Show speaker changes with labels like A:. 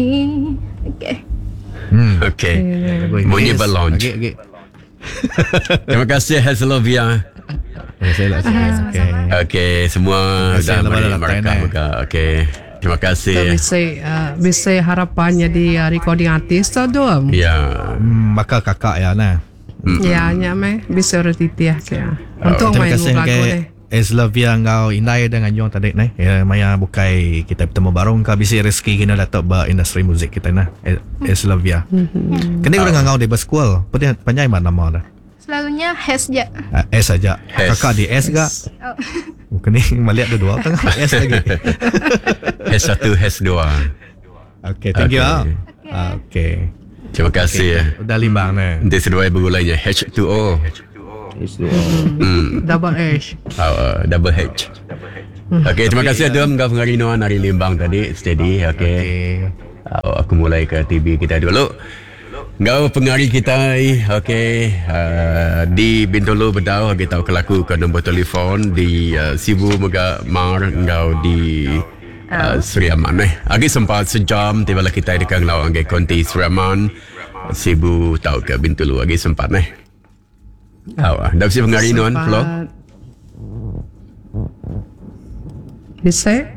A: Okey.
B: Hmm.
C: Okey. Munyi ba launch.
B: Agi agi.
C: Terima kasih Haslovia.
B: Terima kasih lah. Okey.
C: Okey, semua
B: Terima kasih
C: dah
B: lah
C: meri
B: bala datai
C: markah
B: neh.
C: mega. Okey. Terima kasih.
D: Bisi uh, bisi harapan jadi uh, recording artist tu dum.
C: Ya.
B: Baka kakak ya nah.
D: Ya nya meh bisi orang titih ke. Untung
B: Terima
D: main
B: kasih
D: lagu
B: ke
D: deh.
B: Eslavia enggau indai da nganjung tadi neh. Ya, maya bukai kita betemu baru engka bisi rezeki kena datuk ba industri muzik kita nah. Eslavia. Mm-hmm. Kena orang ngangau di bersekul. Pedih panjai mat nama dah.
A: Selalunya Hes je.
B: Ah, S aja.
C: S.
B: Kakak di S ga.
A: Oh.
B: Kena melihat dua tengah S lagi.
C: H1 H2.
B: Okay, thank you.
C: Okay.
B: Ah. Okay.
C: Terima kasih.
B: Okay. Udah limbang neh.
C: Nanti seduai begulainya H2O.
D: Hmm. Double H.
C: Oh, double H. Okey, terima kasih Adum kau pengari Nuan hari Limbang tadi. Steady, okey.
B: Okay.
C: Oh, aku mulai ke TV kita dulu. Ngau pengari kita okey uh, di Bintulu bedau kita tahu kelaku ke nombor telefon di uh, Sibu mega Mar ngau di uh, Sri Aman eh. Agi sempat sejam tiba lah kita dekat ngau angge konti Sri Aman Sibu tau ke Bintulu agi sempat eh. Oh, dah mesti pengari Nuan Flo.
D: Bisa?